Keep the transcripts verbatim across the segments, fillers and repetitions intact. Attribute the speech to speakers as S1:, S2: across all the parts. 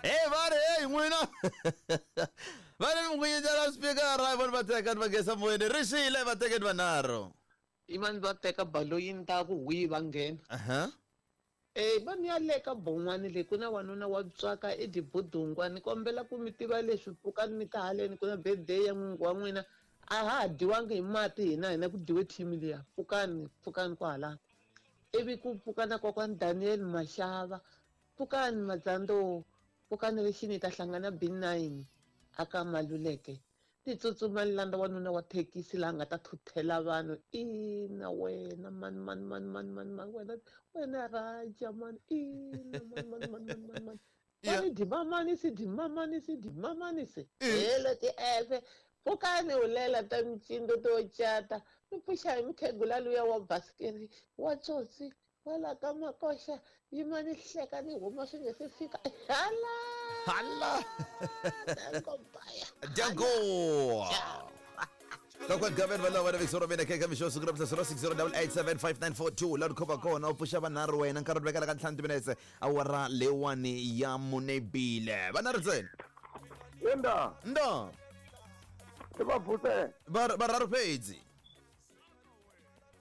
S1: Hey va ri hey n'wina va ri mi n'winyetela speaker vona va teka va gesa moyeni ri xile va tekeni vanharhu
S2: imani va teka baloyini ta ku hwi va nghena
S1: aha
S2: Eh va ni ya le ka bon'wani le ku na wanuna wa tswaka edibudungwa ni kombela ku mi tiva leswi pfukani mi ta haleni ku na birthday ya n'wingi wa n'wina a ha ha dyiwangi hi mati hina hina ku dyiwe team liya pfukani pfukani kwahala ivi ku pfuka na kokwani Daniel Mashava pfukani Madzando pfukani lexini hi ta hlangana B nine aka Maluleke ni tsutsuma ni landza wanuna wa thekisi laha nga ta thuthela vanhu ina wena mani mani mani mani mani mani wena wena raja mani ina mani mani mani mani mani mani
S1: Yeah.
S2: mani dimamanisi dimamanisi dimamanisi helo tiefe pfukani ulela ta micindo to cata mi pfuxa hi mukhegula luya wa basikiri wa tsotsi wala ka makoxa yima ni hleka ni huma swi nge se fika hala
S1: Hala.
S2: Danko baya
S1: Danko Kokwani Gavin valava na Victor mina keka mixo siku ra zero six zero eight eight seven five nine four two laha khova kona u pfuxa vanharhu wena nkarhi wu vekela ka ntlhanu timinetse awara leyiwani ya munebile vanharhu ntsena
S3: Enda,
S1: ndo
S3: i va vuse.
S1: Var- varharhu fhedzi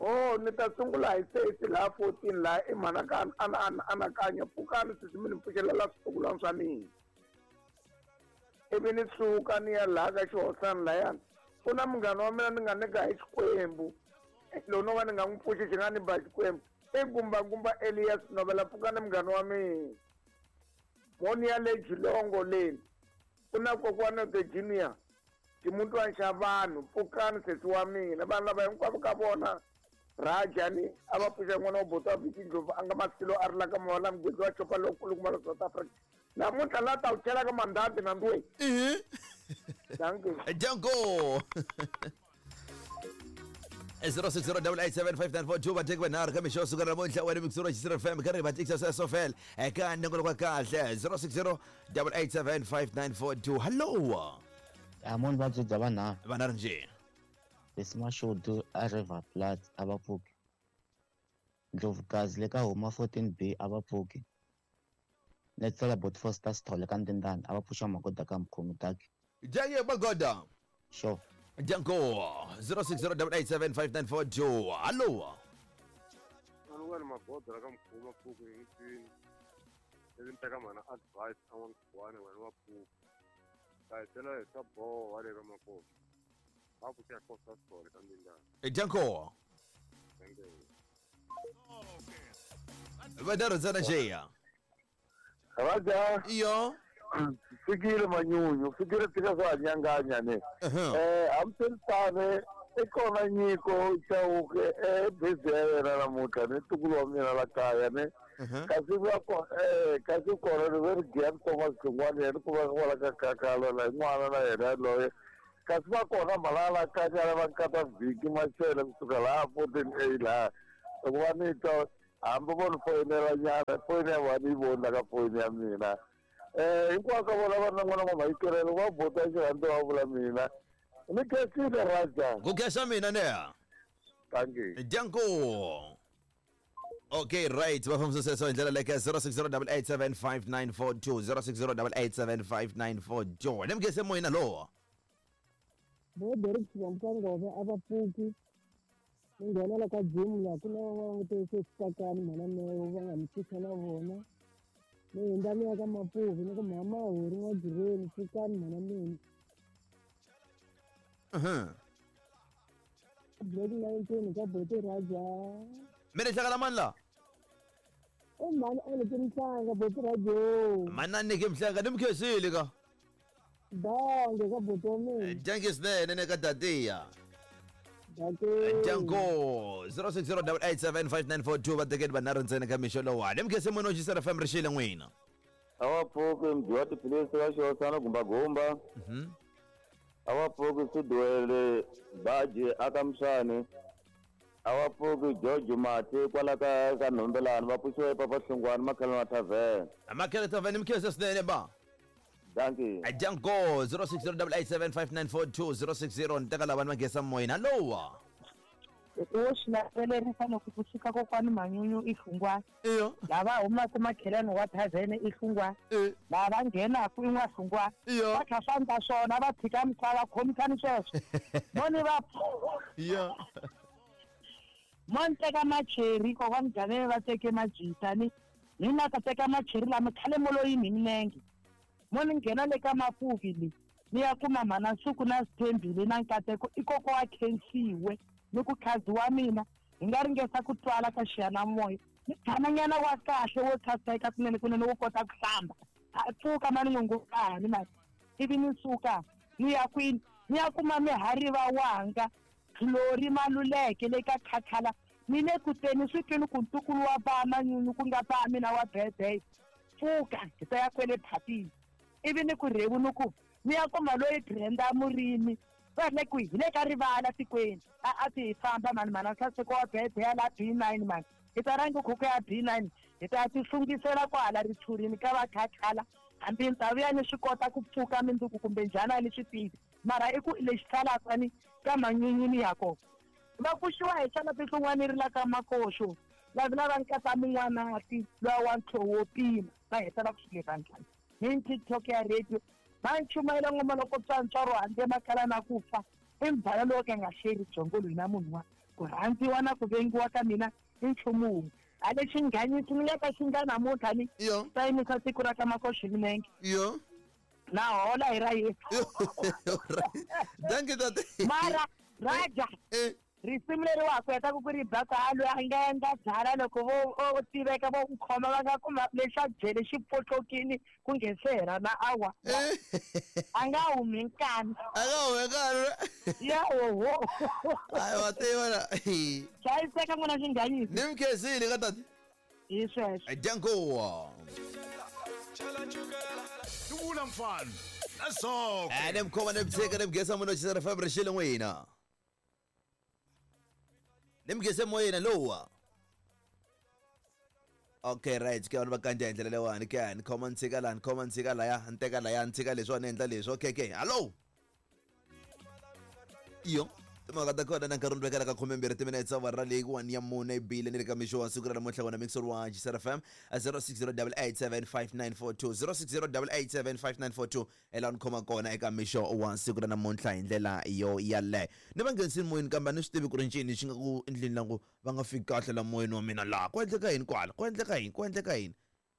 S3: Oh, ni ta sungula hi sesi laha fourteen laha i mhana ka ana ana anakanya pfukani sesi mi ni pfuxelela switukulwana swa mina. Ivi ni suka ni ya laha ka xihosana layani. Ku na munghana wa mina ni nga nyika hi Xikwembu. Lowu no va ni nga n'wi pfuxi xi nga ni ba Xikwembu. I gumbagumba Elias Novela pfukani munghana wa mina. Mo ni ya le Jilongo leni. Ku na kokwana the junior. Ximutwana xa vanhu pfukani sesi wa mina vanhu lava hinkwavo ka vona Rajani a va pfuxa n'wana wa buti wa Viki Ndlovu a nga masilo a ri la ka Mawala mugezi wa xopa lowukulukumba la South Africa namuntlha la ta wu chela ka mandambi na ndwe
S1: ihi
S3: dankie
S1: Danko zero six zero eight eight seven five nine four two vateki vanharhu ka mixo suka namuntlha wena mixuro xisira fm ka ri vatekisa sweswo fela eka nongonoko wa kahle zero six zero eight eight seven five nine four two hallo
S4: Amoni vabyi bya vanharhu
S1: vanharhu njhe
S4: Lesi Mashudu a River Plat a va pfuki Ndlovukazi le ka huma fourteen B a va pfuki Netsela Bot Foster Sithole ka Ndindani a va pfuxa magoda ka mukhomi taki
S1: Jaye Magoda
S4: sure
S1: Danko zero six zero eight eight seven five nine four two hallo
S5: Anuwani magoda la ka mkhuma pfuku hi n'witini ivi ni teka mhana advice a n'wa nkhuwana wena wa pfuku ta hi byela hi swa boha le ka makosi va pfuxa Costa Sithole ka Ndindani
S1: Danko
S5: thank you
S1: vanharhu ntsena njeya
S3: Raja
S1: iyo
S3: fikile manyunyu fikile tika swa nyanganya ne
S1: Uh-huh.
S3: eh hambiritane i kona nyiko Chauke eh busy ya yena namuntlha ni ntukulu wa mina la kaya ne
S1: Uh-huh.
S3: kasi va ko eh kasi kona ni ve ri Gian Thomas Xingwani yena ku va kwala ka kakalo la n'wana na yena yaloye kasi va kona malala kanyana va nkata vhiki Machele kusuka laha fourteen A laha loko va ni twa hambi vo ni foyinela nyana foyini ya vona ni yi voni la ka foyini ya mina eh hinkwako ka vona va ri na n'wana wa mayikelelo va bota xirhandza va vula mina ni khensile Raja
S1: ku khensa mina neha
S3: thank you
S1: Danko Okay right va fambisa sweswo hi ndlela leke zero six zero eight eight seven five nine four two zero six zero eight eight seven five nine four two ni mugese moyeni lowo
S6: Bo Derek Xivamukangove a va pfuki ni nghenela ka gym laha ku na van'wana te se switakani mhana meyo va nga mi pfuxa na vona ni hundza ni ya ka Mapuvi ni ku mhama hori n'wajireni pfukani mhana mina
S1: Mhm.
S6: Black nineteen ka Boti Raja
S1: mi ni hlangana mani la
S6: i mhani a ni ki mhlanga Boti Rajo
S1: manani ke mhlanga ni mi khensile ka
S6: dange ka Boti wa mina
S1: danke swinene ne ka datiya
S6: dake
S1: Danko zero six zero eight eight seven five nine four two va tekeni vanharhu ntsena ka mixo lowani ni mugese moyeni wa Xisera F M ri xile n'wina
S3: a va pfuki mdyi wa tiphilisi va xihosana gumbagumba
S1: Mhm.
S3: a va pfuki Siduwele Baji aka Mswani a va pfuki George Mati kwala ka ka Nhombelani va pfuxiwa epapa Hlungwani Makhelwana Tavern
S1: Makhele Tavern ni mi khensa swinene ba
S3: dankie
S1: Danko zero six zero eight eight seven five nine four two zero six zero ni teka lavani va nghesa moyeni hallo
S6: Wo swi landzelerisa loko kusuka kokwani Manyunyu i Hlungwana.
S1: Iyo.
S6: Lava humaka makhelwani wa thavhene i Hlungwana. Lava nghenaku i N'wahlungwana.
S1: Iyo.
S6: Va kha swa ndla swona va tshika misava khomisani sweswo. Mo ni va
S1: Iyo.
S6: Mo ni teka macheri kokwani Ganele va teke majita ni mina ka teka macheri lama khale mo lo yimi hi milenge. Mo ni nghena le ka Mapuvi le ni ya kuma mhana Nsuku na Sithembile na Nkateko i koko wa khensiwe ni ku khazi wa mina hi nga ringesa ku twala ka xiyanimoya ni tshamanyana wa kahle wo tshaseka kunene kunene wo kota ku hlamba a pfuka mani n'wingukani mani ivi ni suka ni ya kwini ni ya kuma mihariva wanga Glory Maluleke le ka Khakhala ni le ku teni swi twini ku ntukulu wa ba Manyunyu ku nga ba mina wa birthday pfuka hi ta ya kwele phatini ivi ni ku rhevu ni ku ni ya kuma loyi Brenda Murimi va le kwihi hi le ka rivala tikweni a a ti hi famba mani mhana Nhlaseko wa birthday ya la B nine mani hi ta rhanga khuku ya B nine hi ta ya ti hlungisela kwahala ritshurini ka va Khakhala hambi ni ta vuya ni swi kota ku pfuka mindzuku kumbe njhani a ni swi tivi mara i ku lexi salaka ni ka Manyunyu ni ya kona va pfuxiwa hi xana tinhlungwana ri la ka Makoxo lavi lava nkata mun'wanati luwa wa ntlhowo wo pima va heta va ku swi le vandlani ni TikTok ya radio va nchumayela ngoma loko tswantswaro handle makala na ku fa i mbhala lowo ka nga xeri byongo loyi na munhu wa ku rhandziwa na ku vengiwa ka mina i nchumu wun'we a lexi nghanyisi ni nga ka xi nga namuntlha ni ta yimisa siku ra ka Makoxo hi milenge.
S1: Iyo.
S6: Na hola hi ra Yesu.
S1: Thank you tate.
S6: Mara raja risimu leri wa ha ku heta ku ku ri ba ku a loyi a nga endla byala loko vo o tiveka vo ku khoma va nga kuma lexa jele xi pfotlokini ku nge se hela na awa a nga humi nkani
S1: a nga humi nkani
S6: ya oho
S1: hayi wa tiva na
S6: hlayiseka n'wina xinghanyisi
S1: ni mi khensile ka tate
S6: hi sweswo
S1: danko
S7: Dubula mfana nasoko
S1: ene mkhoma ne mtsheka ne mgesa munhu xisera F M rixile n'wina nimgese moyeni lowa. Okay right ke vanhu va kanja hi ndlela leyiwani ke ni khoma ni tshika laha ni khoma ni tshika laya ni teka laya ni tshika leswiwani ni endla leswi okay okay hallo iyo timhaka ta kona na nkarhi ni vekela ka khumembirhi timinetse awara leyi one ya mune yi bile ni le ka mixo wa siku ra namuntlha wona mixer wa Xisera F M zero six zero double eight seven five nine four two zero six zero double eight seven five nine four two ela ni khoma kona eka mixo wa siku ra namuntlha hi ndlela yo yaleyo ni va nghenisini moyeni kambe a ni swi tivi ku ri ncini xi nga ku endleni la ku va nga fiki kahle la moyeni wa mina laha ku endleka yini kwala ku endleka yini ku endleka yini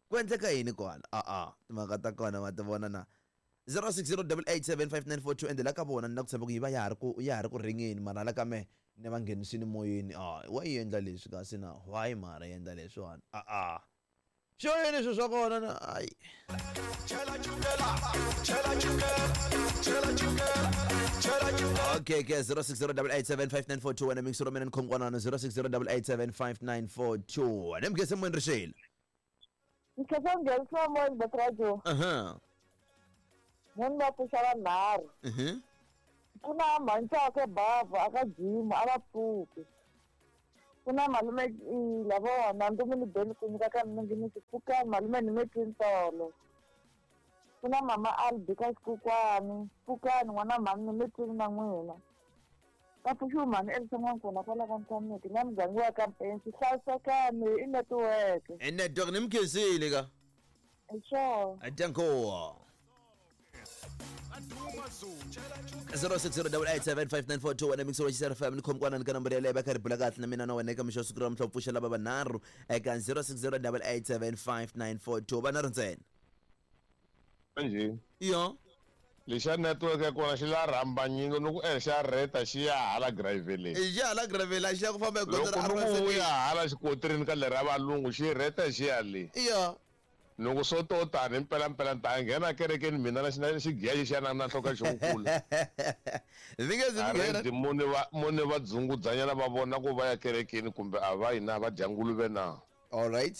S1: ku endleka yini kwala a-a timhaka ta kona ma ti vona na zero six zero double eight seven five nine four two ende la ka vona ni na ku tshemba ku yi va ya ha ri ku ya ha ri ku ringeni mara la ka me ni va nghenisini moyeni a wa yi endla leswi kasi na why mara yi endla leswiwani a-a xo yini swilo swa kona na ayi okay ke zero six zero double eight seven five nine four two wena mixero mina ni khomkwanano zero six zero double eight seven five nine four two ni mugese moyeni rixile
S8: Ngikhetha nghenisiwa moyeni Batradio.
S1: Aha.
S8: Munhu va pfuxa vanharhu.
S1: Mhm.
S8: Ku na mhanchaka bavha aka gym a va pfuki. Ku na malume lava nandzu mi beni ku nyika ka mina ngi pfuka malume ni metini tolo. Ku na mama Albi ka xikukwani pfukani n'wana mhani ni metini na n'wina. Va pfuxiwe mhani evuton'wini kona kwala ka Ntshameki na muganga wa ka Mpensi hlayisekani i network.
S1: I network ni mi khensile ka.
S8: Hi swona.
S1: Danko. zero six zero double eight seven five nine four two wena mixo wa Xisera F M ni khomkwana ni ka nambara yaleyo va kha ri bula kahle na mina na wena eka mixo wa siku ra namuntlha wu pfuxa lava vanharhu eka zero six zero double eight seven five nine four two vanharhu ntsena.
S9: Njhe?
S1: Iyo.
S9: Lexa network ya kona xi la rhambanyini ni ku e xa reta xi ya hala graveleni.
S1: I xa hala graveleni a xi ya ku famba hi gondzo ra
S9: Loko ni ku ya hala xikotirini ka lera valungu xi reta xi ya le.
S1: Iyo.
S9: Loko swo to tani mpela mpela ta nghena kerekeni mina na xi xigiya xi xana na nhloko xi kula.
S1: Ndzi nge zi nghena.
S9: Mune va mune va dzungudzanyana va vona ku va ya kerekeni kumbe a va yina va dya nguluve na.
S1: All right.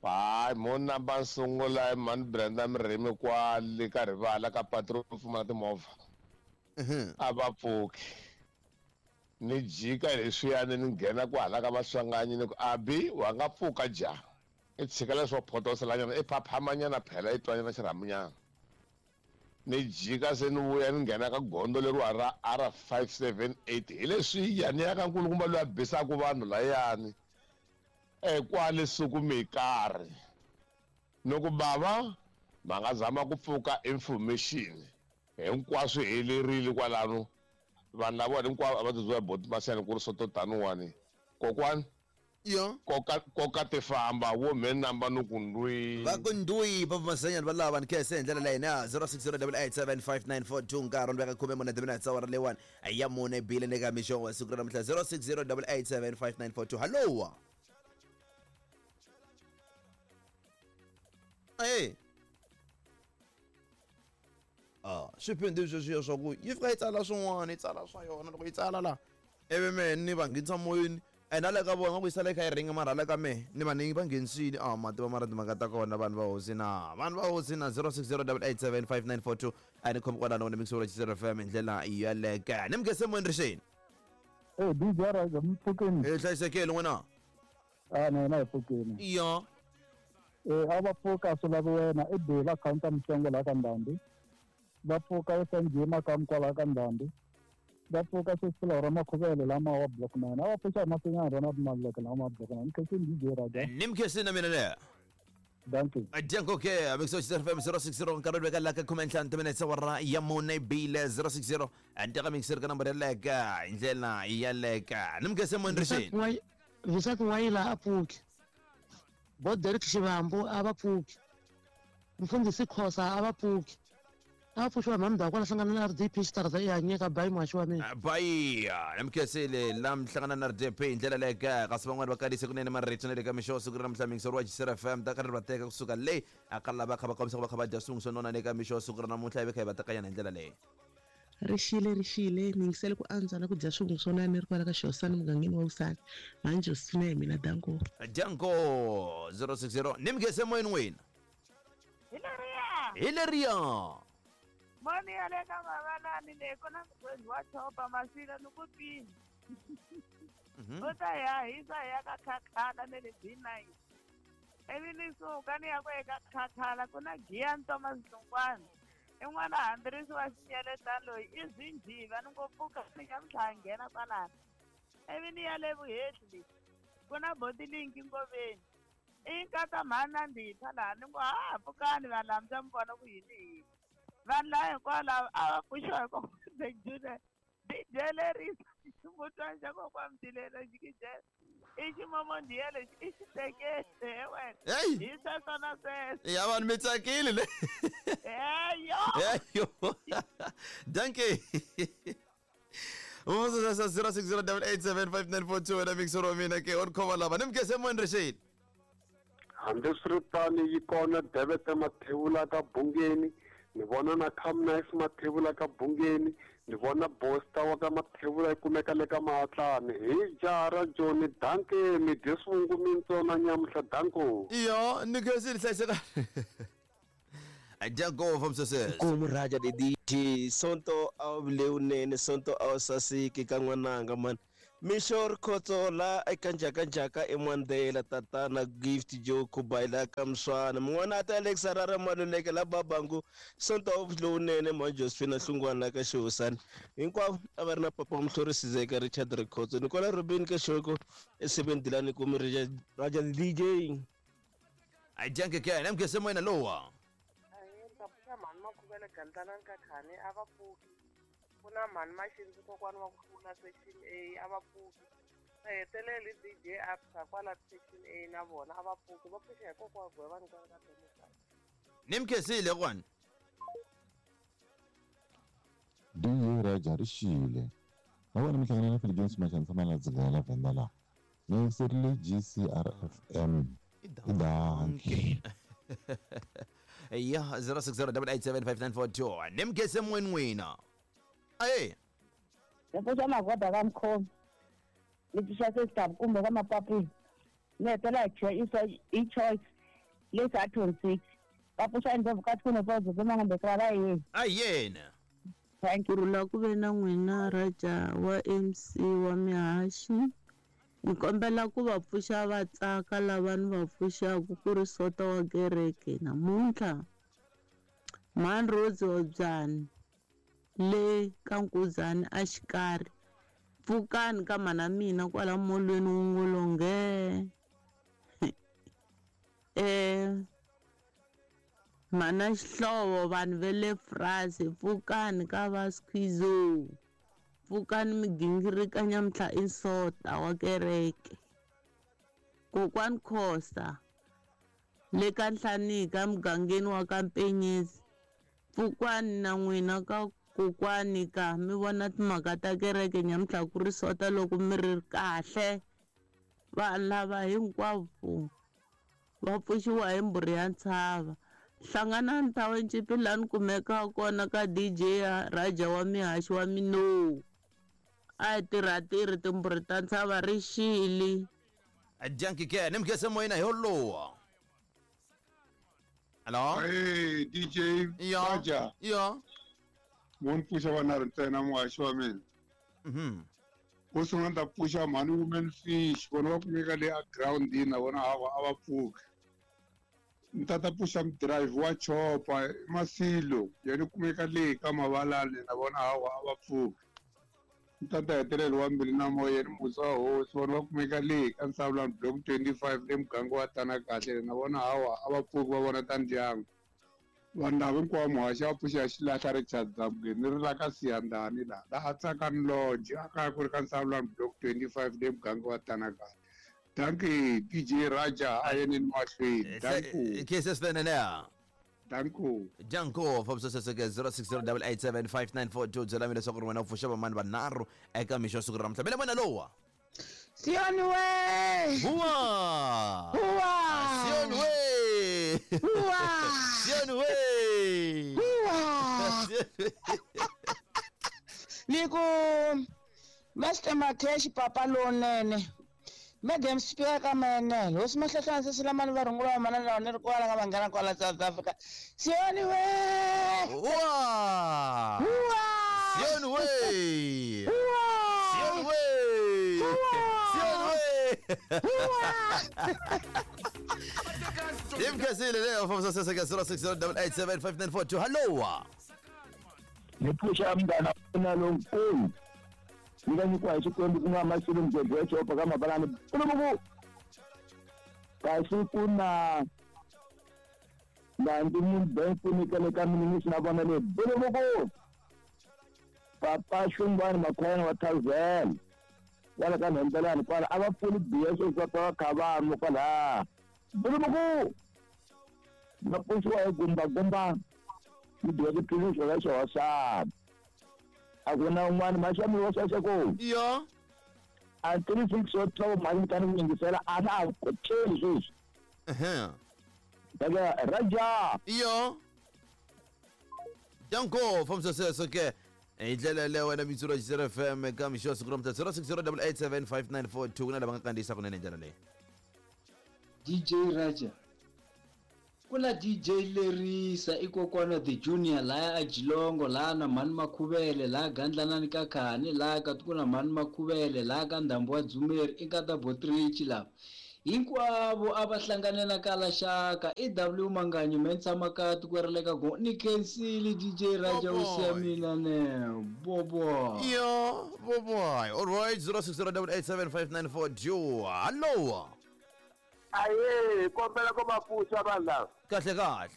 S9: Hayi mo namba sungula mani Brenda Mirimi kwale ka rivala ka patrol pfumala timovha. A va pfuki. Ni jika leswiyani ni nghena kwahala ka Maswanganyi ni ku abi wa nga pfuka ja. I tshika leswo photoselanyana i phaphamanyana phela i twanyana xirhamunyana. Ni jika se ni vuya ni nghena ka gondzo leriwa ra R five seven eight hi leswiya ni ya ka nkulukumba loyi a bisaku vanhu layani e kwale suku mi karhi ni ku bava ma nga zama ku pfuka information hinkwaswo helerile kwalano vanhu lava hinkwavo a va tiziwa boti masiyani ku ri soto taniwani kokwani
S1: yo
S9: koka koka ti famba wo me namba no ku ndwi
S1: va ku ndwi va masanyana va lava ni kese hi ndlela leyi na zero six zero eight eight seven five nine four two nkarhi ni veka khume mune timinetse awara leyiwani ya mune bile ni ka mixo wa siku ra namuntlha zero six zero eight eight seven five nine four two hallo eh ah swiphindu sweswiya swa ku yi fika yi tsala swin'wana yi tsala swa yona loko yi tsala la ivi mehe ni va nghenisa moyeni ene a le ka vona ku yi sala yi kha yi ringa mara le ka mehe ni va ni va nghenisile a mativa mara timhaka ta kona vanhu va hosi na vanhu va hosi na zero six zero eight eight seven five nine four two a ni khomi kwalano ni mixo wa Xisero F M hi ndlela yaleke ni mukese moyeni rixeni
S6: Eh D J Raja mpfukeni
S1: hi hlayisekile n'wina
S6: a na yena hi pfukeni
S1: iyo
S6: eh a va pfuka swi lavi wena i bela counter mihlengo laha ka Ndhambi va pfuka esanjima ka kwalaha ka Ndhambi va pfuka sweswi ra makhuvele lama wa block nine a va pfuxa hi masinyana rona maleke lama wa block nine ni khensini D J Raja
S1: ni mkhensini na mina leya
S6: danke
S1: Danko ke mixo Xisero F M zero six zero nkarhi veka la ka khume ntlhanu timinetse awara ya mune bile zero six zero andeka mixer ka nambara yaleka hi ndlela yaleka ni mkhese moyeni rixeni
S10: Visaki Wayila a pfuki bo Derek Xivambu a va pfuki mfundhisi Khosa a va pfuki a va pfuxiwa hi mhani kwala hlangana na R D P xitarata i hanyeka bayi muhaxi wa mina
S1: bayi namkhensile la mihlangana na R D P hi ndlela leka kasi van'wani va kalise kunene marito na le ka mixo siku ra namuntlha mixo wa Xisero F M ta karhi va teka kusuka le a ka lava kha va kombisa ku va kha va dya swin'we swo nona le ka mixo siku ra namuntlha hi ve kha hi va tekanyana hi ndlela leyi
S11: Rixile rixile ni yingisele ku antswa na ku dya swivungu swo nana ni ri kwala ka Xihosana mugangeni wa Vusani mhani Josefina hi mina danko
S1: danko zero six zero ni mkhese moyeni n'wina
S8: hi leriya
S1: hi leriya
S8: moni ya le ka mavalani leyi ku na mugwezi wa chopa maswila ni ku pini u ta ya hisa hi ya ka khakhala ne le B nine ivi ni suka ni ya ku eka khakhala ku na giya ntoma Hlungwana i n'wana hambirisi wa xinyeletani loyi i zinjiva ni ngo pfuka ni nyamuntlha a nghena kwalano ivi ni ya le vuhehli leyi ku na botilinki ngoveni i nkata mhani na ndhipha laha ni ngo ha pfukani vanhu lava mi mi vona ku yini yini vanhu lava hinkwavo a va pfuxiwa hi kokwana Junior D J lerisa ximutwana xa kokwana Mtilelo xikijela i ximomondhiya lexi i xi tekele he wena hi sweswo na sweswo
S1: ya vanhu mi tsakile le
S8: eyo
S1: eyo danke zero six zero eight eight seven five nine four two wena mixo wa mina ke on khoma lava ni mkhese moyeni rixeni
S5: hambiswiritano yi kona Devete Mathevula ka Bungeni ni vona na Camnice Mathevula ka Bungeni ni vona Bosta wa ka Mathevula yi kumeka le ka Mahatlani hi jaha ra Joni danke mi dye swivungu mintsona nyamuntlha danko
S1: iyo ni khensile hlayiseka danko from success
S12: Nkomu Raja the D J Sonto a wu lewunene Sonto a wu saseki ka n'wananga mani mixo Rikhotso la eka njhakanjhaka eMandela tatana Gift Joe Khubaila ka Mswana mun'wana a ta Alex Harare Maluleke la Babangu Sonto a wu lowunene mhani Josephina Hlungwana la ka Xihosana hinkwavo a va ri na papa Mhlori Sizeka Richard Rikhotso ni kwala Robin ka Xoko esebeni Dilani kumi Raja the D J
S1: danke ke ni mkhese moyeni lowa
S8: pfuxa mhani Makhuvele Gandlana Nkakhani a va pfuki ku na mhani Maxindzi kokwani wa ku hlula section A a va pfuki va heteleli D J Absa kwala section A na vona a va pfuki va pfuxa hi kokwa Gwevani kwala ka Democrat
S1: ni mkhensile kwani
S13: D J Raja rixile na vona mi hlangana na Philip Jones Machanisa la dzingela la Venda la ni yingiserile G C R F M i danke
S1: ya zero six zero eight eight seven five nine four two ni mkhese moyeni n'wina aye
S8: ni pfuxa magoda ka Mkhomi ni pfuxa sesitabu kumbe ka Mapapini ni hetela hi i choice lesi a twenty six va pfuxa endlevukati ku ne va yena
S1: a yena
S11: ku rhula ku ve na n'wina Raja wa M C wa mihaxi ni kombela ku va pfuxa va tsaka lava ni va pfuxaku ku ri sota wa kereke namuntlha Mhani Rose Hobyani le ka Nkuzani a xikarhi. Pfukani ka mana mina kwala molweni wungolonge. Eh mana Xihlovo vanhu va le France pfukani ka va Squizo. Pfukani migingirika nyamuntlha i Nsota wa kereke. Kokwani Khosa le ka Nhlanika mugangeni wa ka Mpenyezi. Pfukani na n'wina ka kokwani ka mi vona timhaka ta kereke nyamuntlha ku ri Sota loko mi ri kahle. Vanhu lava hinkwavo va pfuxiwa hi mbhuri ya ntshava. Hlanganani Township laha ni kumekaka kona ka D J Raja wa mihaxi wa Minowu. A hi tirha-tirhi timbhuri ta ntshava ri xile.
S1: Dankie ke nimkese moyena hi wolowo. Hello.
S5: Hey D J
S1: Ya.
S5: Raja.
S1: Ya.
S5: Mo ni pfuxa vanharhu ntsena muhaxi wa mina.
S1: Mhm.
S5: Wo sungula ni ta pfuxa mhani Women Fish, vona va kumeka le a groundini na vona hawa a va pfuki. Ni ta ta pfuxa mudhirayivhi wa chopa Masilo, yena u kumeka le ka Mavalani na vona hawa a va pfuki. Ni ta ta hetelela wa Mbilu na Moya yena Musa wa Hosi, vona va kumeka le ka Nsavulani block twenty-five le muganga wa Tana Kahle na vona hawa a va pfuki va vona ta ndyangu. Vanhu lava hinkwavo muhaxi va pfuxa xilahla Richard Zamukeni ni ri la ka Siyandhani laha laha a Tsakani Lodge a kaya ku ri ka Nsavulani block twenty-five le muganga wa Tana Kahle. Dankie D J Raja a yeneni mahlweni. Danko.
S1: Kese swinene ne.
S5: Danko.
S1: Danko fambisa zero six zero eight eight seven five nine four two byela mina leswaku ri wena u pfuxa vamani vanharhu eka mixo wa siku ra namuntlha. Mina vona lowa.
S14: Sioni we.
S1: Huwa.
S14: Huwa.
S1: Sioni we.
S14: Huwa.
S1: Sioni we.
S14: Huwa. Ni ku Master Makeshi papa lonene. Madam Speaker ka manene. Hosi Mahlahlana sesilamani va rungula va manana lawa ni ri kwala ka vanghana kwala South Africa. Sioni we.
S1: Huwa.
S14: Huwa.
S1: Sioni we.
S14: Huwa.
S1: Sioni we. Sioni we. Imkasile leyo fambisa seseka zero six zero eight eight seven five nine four two. Hello.
S15: Ni pfuxa mngana wa lonkulu. Ni nga nyikiwa hi Xikwembu ku nga Masilo Mgwebwe wa Chopa ka Mabalani. Pulubuku. Kasi ku na Nandi Mumbenku ni kale ka minisi na vona le Pulubuku. Papa Xungwani Makhwayana wa Thalvela. Wala ka Nhembelani kwala a va pfuli B S S va va kha va nwa kwala. Pulubuku. Va pfuxiwa hi gumba gumba. Ni dya tiphilisi ra xihosana. A ku na un'wana maxami wa sweswo.
S1: Ya.
S15: A three six wa twelve mali mi ku yingisela a na a kocheli sweswi.
S1: Ehe.
S15: Daga Raja.
S1: Yo. Danko fambisa sweswo ke. Hi ndlela leyo wena Mitsuro X F M ka mixo siku ra namuntlha zero six zero eight eight seven five nine four two ku na lava nga kandziyisa kunene hi ndlela leyi.
S16: D J Raja. Kula D J Lerisa i kokwana the junior laya a Jilongo laha na mhani Makhuvele laha Gandlanani ka Khani laha ka ku na mhani Makhuvele laha ka Ndhambo wa Dzumeri i ka ta Botrichi lava hinkwavo a va hlanganela ka laxaka i W Manganyi me ni tshama ka tiko ra le ka go ni khensile D J Raja u siya mina ne bobo.
S1: Yo bobo. All right zero six zero eight eight seven five nine four two. Hello.
S3: Aye, kombela ko va pfuxa vanhu lava.
S1: Kahle kahle.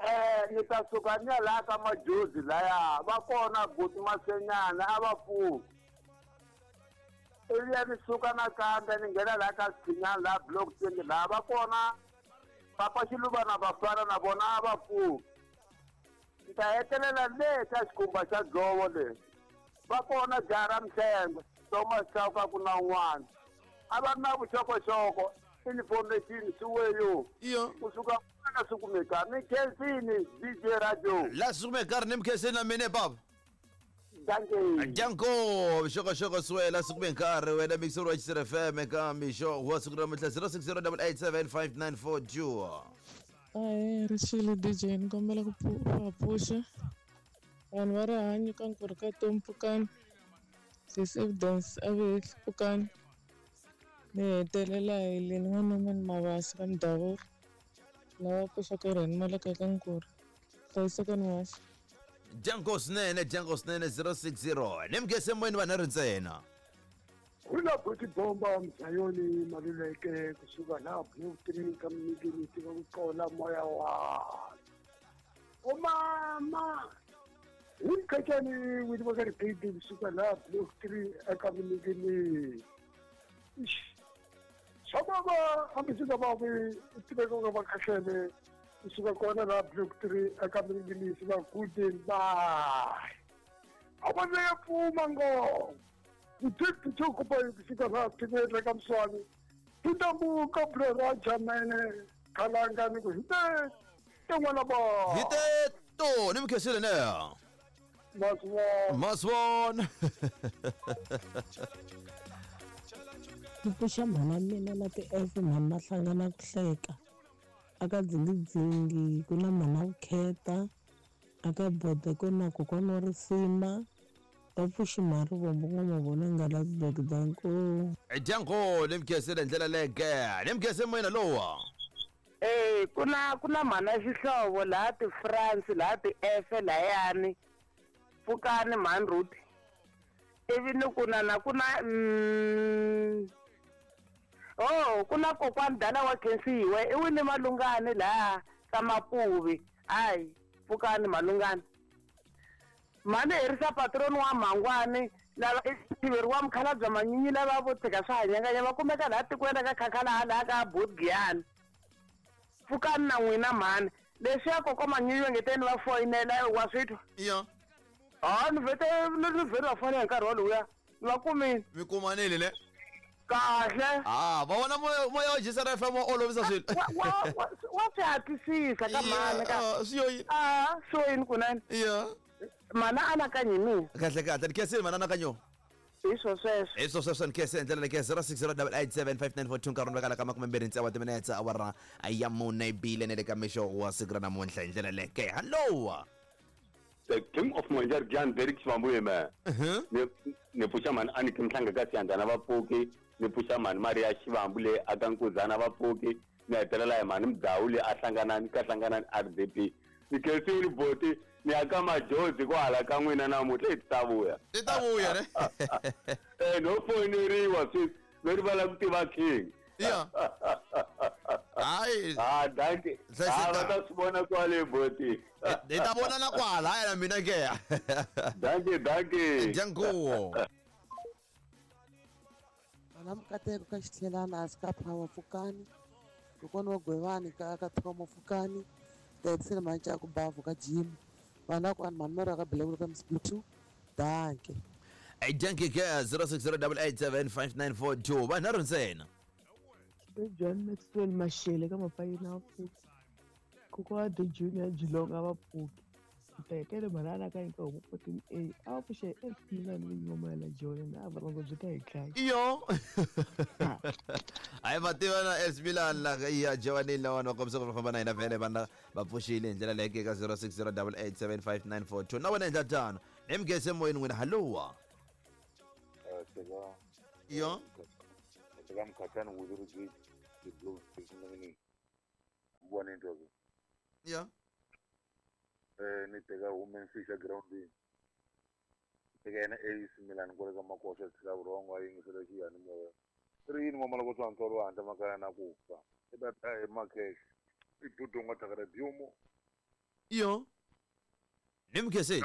S3: Eh, ni ta suka ni ya laha ka Majozi laya va kona buti Masenyana a va pfuki. Ivi ya ni suka nakambe ni nghena laha ka Siphinyana laha block twenty laha va kona Papa Xiluva na Vafana na vona a va pfuki. Ni ta hetelela le ka xikhumba xa dzovo le. Va kona jaha ra Mhlengwe, Thomas Chauke ku na un'wana. A va na vuxokoxoko information swi
S1: Iyo.
S3: Kusuka kwana swi kumeka mi khensini D J Radio.
S1: La swi kumeka ri ni mi khensini na mina baba.
S3: Dankie.
S1: Danko vuxokoxoko swi swi kume nkarhi wena mixer wa X F M ka mixo wa siku ra namuntlha zero six zero eight eight seven five nine four two.
S17: Ahee ri xile D J ni kombela ku va pfuxa vanhu va rihanyo ka nkurhi ka Tom Pfukani sis Evidence a ve Pfukani ni hetelela hi le ni n'wana wa Mavasa ka Mudavuri lava pfuxaka rheni maleka ka nkurhi. Hlayisekani muhaxi.
S1: Dyango swinene, dyango swinene zero six zero. Ni mugese moyeni vanharhu ntsena.
S18: Hula boti bomba mzayoni maluleke kusuka laha Blue Tree ka mimikini tiva ku qola moya wa. O mama Umkhatshani wini va ka ribidi kusuka laha Blue Tree eka mimikini. Swa hambi va vi tiveka nga va khahlele kusuka kona laha Blue Tree eka mimikini va good bye. A va le pfuma ngo. Uthi kuba kusuka laha tiveka ka mswani. Tintambuka bro Raja mene khalanga ni ku hite tin'wana ba.
S1: Hite to ni mkhesile ne.
S18: Maswon.
S1: Maswon.
S6: Ni pfuxa mhana mina na ti-F mhani ma hlangana ku hleka. Aka dzingidzingi ku na mhana vukheta, aka bode ku na kokwana wa risima. Va pfuxi mhani rivombo n'wamavona nga Lasburg danko.
S1: Dyango ni mkhesile ndlela leke. Ni mkhese moyeni lowa.
S11: Eh ku na ku na mhana xihlovo laha ti-France laha ti-F layani. Pfukani mhani Ruth. Ivi ni ku na na ku na mm, oh ku na kokwani dala wa khensiwe i wini malungani laha ka Mapuvi. Hayi pfukani malungani. Mhani herisa patroni wa Mhangwani lava i tiveriwa mukhalabye manyinyi lava vo tshika swa hanyanganya va kumeka laha tikweni ka khakhala laha ka Bodgiyani. Pfukani na n'wina mhani. Leswiya koko manyinyi va ngeteni va foyinela wa swi twa.
S1: Ya.
S11: Ah ni vete ni vhele va fonela hi nkarhi woluya. Ni va kumile.
S1: Mi kumanile le?
S11: Kahle.
S1: Ah, va vona moya moya wa G C R F M wa olovisa swilo.
S11: Wa wa wa wa swi hatlisisa ka mhani ka.
S1: Swi yo yini?
S11: Ah, swi yo yini kunene?
S1: Ya.
S11: Mhana anakanyi hi mina.
S1: Kahle kahle ni khensile mhana anakanyo.
S11: Hi swo sweswo.
S1: Hi swo sweswo ni khense ndlela leyi zero six zero double eight seven five nine four two nkarhi wa kala ka makume mbirhi tsevu wa timinetse awara ya mune bile ne le ka mixo wa siku ra namuntlha hi ndlela leke. Hello.
S19: The King of Monjar Jan Derek Xivambuye man. Ni ni pfuxa mhani a ni Mhlanga ka Siyandhana va pfuki, ni pfuxa mhani Maria Xivambu le aka Nkuzana va pfuki, ni hetelela hi mhani Mudhawu le a hlanganani ka hlanganani R D P. Ni khensile boti ni ya ka majozi kwala ka n'wina namuntlha hi ta vuya.
S1: Ti ta vuya ne?
S19: Eh no foyineriwa sweswi ve rivala ku tiva king.
S1: Ya. Hayi.
S19: Ah dankie. Ah va ta swi vona kwale boti.
S1: Hi ta vonana kwala hayi na mina ke.
S19: Dankie dankie.
S1: Dyango.
S10: Vana Mukateko ka Xitlhelana a ka Power pfukani. Kokwana wa Gwevani ka ka Thomo pfukani. Taxi Manchaku bavu ka Jim. Vana kwani mhani ka Belekulu ka Msiputhu. Dankie.
S1: Hey dankie ke zero six zero double eight seven five nine four two. Vanharhu ntsena.
S20: John Maxwell Mashele ka Mapayina a pfuki. Kokwa wa The Junior Geelong a va pfuki. Ntekele mhana anakanyi ka homu fourteen A a va pfuxa hi F P nine vinyi va moya la Joni na vurhongo byi ta hi dlaya.
S1: Iyo. Hayi va tiva na S Milan la ya Jovanile lawani va kombisa ku va famba na hina vhele vana va pfuxile hi ndlela leyi ka zero six zero double eight seven five nine four two. Na wena endla tano. Ni mugese moyeni n'wina hallo. Iyo.
S5: Teka mkhathani wuzuri the blue ni ubona into ke.
S1: Ya.
S5: Eh ni teka women fisher ground. Teka yena A C Milan kwale ka Makosha tshika vurhongo a yingisela xiyani moya. Ri yini n'wamala ku tswantswalo handle makaya na ku fa. I ta ta hi makhexe. I dudunga thakara byumo.
S1: Iyo. Ni mkhese.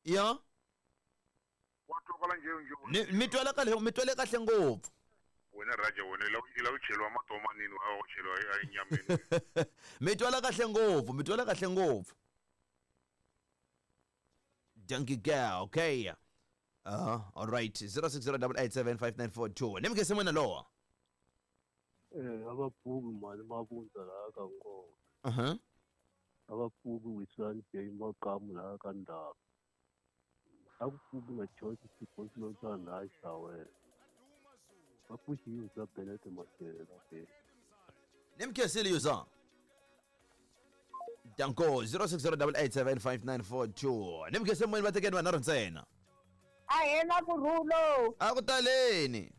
S1: Ya. Mi twela kahle mi twele kahle ngopfu.
S5: Wena Raja wena i lava ku cheliwa matomanini wa ku cheliwa enyameni.
S1: Mi twela kahle ngopfu, mi twela kahle ngopfu. Donkey girl, okay. Uh, all right. zero six zero double eight seven five nine four two. Ni mkhese mwena lowa.
S21: Eh aba pfuki mali mabundza laha ka Nkongo.
S1: Uh-huh.
S21: Aba pfuki Wisani J Makamu laha ka Ndaba. Akupfuki na George Siposilotana laha Xawela. Va pfuxi Yuza Benete Mashele la
S1: Ni mkhesile Yuza. Danko zero six zero double eight seven five nine four two. Ni mkhese moyeni va tekeni vanharhu ntsena.
S8: A hena kurhulo.
S1: A ku taleni.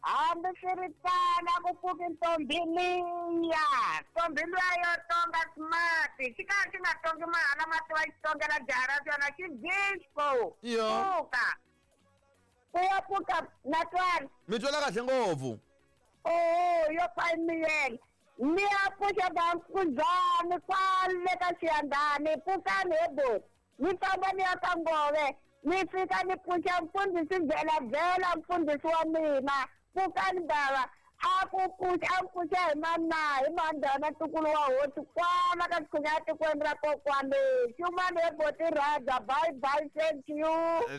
S8: Hambiswiritano a ku pfuki ntombi liya ntombi luya yo tonga smart xi karhi xi nga tongi mahala mati wa xi tongela jaha ra xona xi disco
S1: Yo.
S8: pfuka ku ya pfuka na twana
S1: Mi twela kahle ngopfu.
S8: oho yo fa miyela ni ya pfuxa vankuzani kwale ka xiyandani pfukani he boti ni famba ni ya ka ngove ni fika ni pfuxa mfundhisi byelavela mfundhisi wa mina pfukani bava a ku pfuxa a pfuxa hi mana hi mandhana ntukulu wa hosi kwala ka xikhunya tikweni ra kokwani xumani he boti rhaja bye bye thank you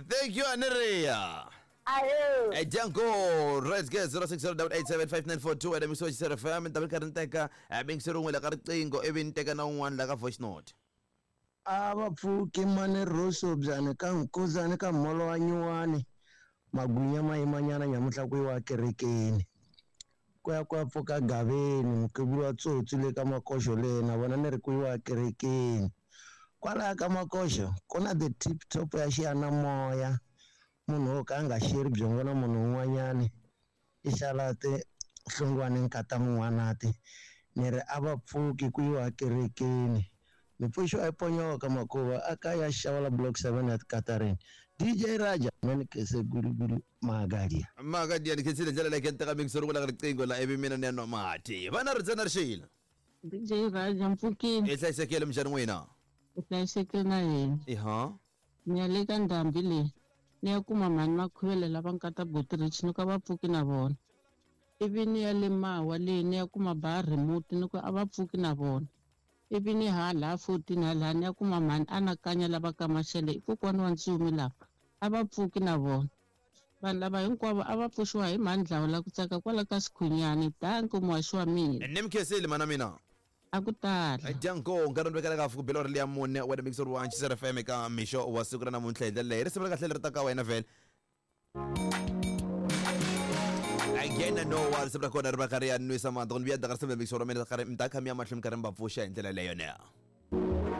S1: Thank you Aniria.
S8: ahe
S1: Eh, Django, let's get zero six zero eight seven five nine four two ene mixo wa F M ni ta mi karhi ni teka eh, mingiseri wun'we la ka riqingho ivi ni teka na un'wana la ka voice note.
S2: A va pfuki mani roso byani ka nkuzani ka molo wa nyuwani magwinya ma yimanyana nyamuhla ku yiwa kerekeni ku ya ku ya pfuka gaveni mukhegulu wa tsotsi le ka makoxo le na vona ni ri ku yiwa kerekeni kwalaya ka makoxo ku na the tip top ya xiyanimoya munhu wo ka a nga xeri byongo na munhu un'wanyani i xala ti hlongwane nkata mun'wanati ni ri a va pfuki ku yiwa kerekeni mipfuxo a yi ponyoka makuva a ka ya xawula block seven ya tikatarini D J Raja manikese gulugulu magadia.
S1: Maka dia ni khensile ndlela leyi ni teka mingiseri wun'we la ka riqingho la ivi mina ni ya nwa mati. Vana ri ntsena rixile.
S11: D J Raja mpfukini.
S1: I hlayisekile minjhani n'wina?
S11: U hlayisekile na hina.
S1: Iha.
S11: Ni ya le ka ndhambi leyi ni ya kuma mhani Makhuvele lava nkata Butrich ni ku a va pfuki na vona ivi ni ya le Mawa leyi ni ya kuma ba remote ni ku a va pfuki na vona ivi ni hala fourteen hala ni ya kuma mhani anakanya lava ka Mashele i kokwana wa Ntsumi lava a va pfuki na vona vanhu lava hinkwavo a va pfuxiwa hi mhani Dlawula ku tsaka kwala ka Sikhunyani danko muhaxi wa mina.
S1: Ni mi khensile mana mina.
S11: A ku tala.
S1: Django nkarhi ni vekela ka fuku belo ri liya mune wena mixer wa Xisera F M eka mixo wa siku ra namuntlha hi ndlela leyi risimu ra kahle leri ta ka wena vhele again no wa risimu ra kona ri va karhi ya nwisa mati ku ni vuya ka risimu mixer wa mina karhi mi ta kha mi ya mahlweni mi karhi mi va pfuxa hi ndlela leyo ne.